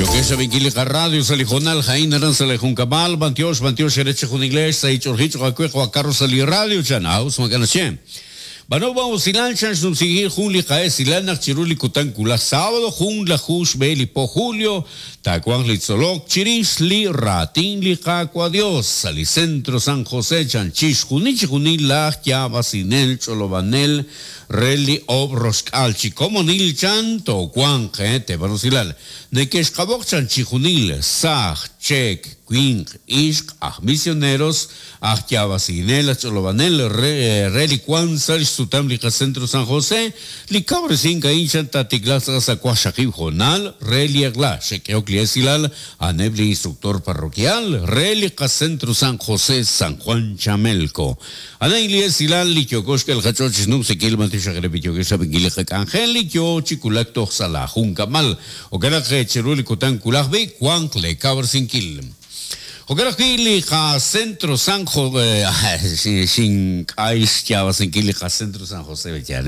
Yokex rab'inkil li qaradio sa' li hoonal a'in aran sa' li junkab'al, b'antiox, b'antiox eere chejunilex sa' ich'olji cho'q aawe qawa' Carlos sa' li radio chan, aus maak'a' naxye. B'ano b'an usilal chan xnumsinkil jun li qa'esilal naq chiru li kutan wulaj sábado junlaju xb'e li po julio taawanq li tzolok chirix li raatin li Qaawa' Dios sa' li Centro San José chan chixjunil chijunil laj yaab'asinel ch'olob'anel re li oob' roxk'aal chi komonil chan toowanq teeb'an usilal neke'xqab'oq chan chijunil saaj, cheek, winq, ixq, aj misioneros, aj yaab'asinel, aj ch'olob'anel re re li wank sa' xsutam li qaCentro San José, li kawresink a'in chan taatiklaaq tz'aqal sa' waqxaqib' hoonal re li eq'la, xe'k'ehok li esilal a'aneb' li instructor parroquial re li qaCentro San José San Juan Chamelco. A'an li esilal li yooko xk'el qach'ool chi xnumsinkil b'antiox re li yookeb' xrab'inkil li qak'anjel li yoo chi wulak toj sa' laajunkab'al. Jo'kan naq chiru li kutan wulaj b'i' wanq lee kawresinkil. Jo'kan ajwi' li qaCentro San xink'ay xyaab'asinkil li qaCentro San José b'eyal.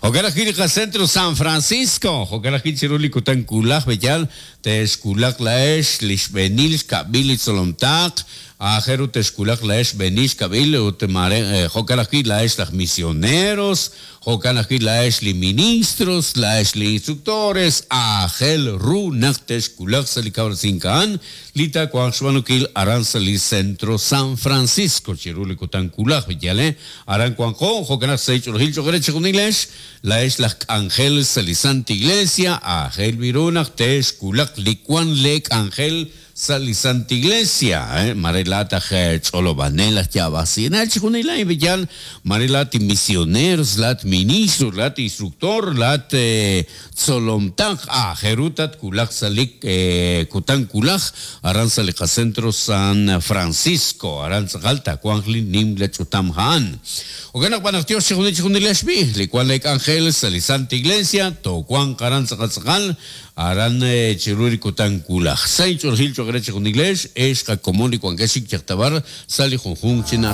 Jo'kan ajwi' li qaCentro San Francisco. Jo'kan ajwi' chiru li kutan wulaj b'eyal texwulaq laa'ex li xb'eenil xkab'il li tzolomtaq Aajel ru texwulaq laa'ex xb'eenil xkab'il ut maare jo'kan ajwi' laa'ex laj misioneros, jo'kan ajwi' laa'ex li ministros, laa'ex li instructores, aajel ru naq texwulaq sa' li kawresink a'an li taawanq xb'aanunkil aran sa' li Centro San Francisco chiru li kutan wulaj, yal aran wanqo, jo'kan naq sa' ch'oolejil cho'q eere chejunilex, laa'ex laj k'anjel sa' li Santa Iglesia, aajel b'i ru naq texwulaq li wan lee k'anjel Sa' li Santa Iglesia, mare laa'at aj ch'olob'anel, aj yaab'asinel, chixjunil a'in b'iyal, mare laa'at misioneros, laa'at ministro, laa'at instructor, laa'at tzolomtaq, aajel ru tatwulaq sa' li kutan wulaj aran sa' li qacentro San Francisco, aran tz'aqal taawanq li nimla ch'utam a'an. Jo'kan naq b'an naq Dios chixjunil chixjunilex b'i' li wan lee k'anjel sa' li Santa Iglesia, toowanq aran tz'aqal tz'aqal Aran chiru li kutan wulaj. Sa' inch'oolejil cho'q re chejunilex, ex qakomon li wankex chik yaj ta b'ar sa' li junjunq chi na'ajej.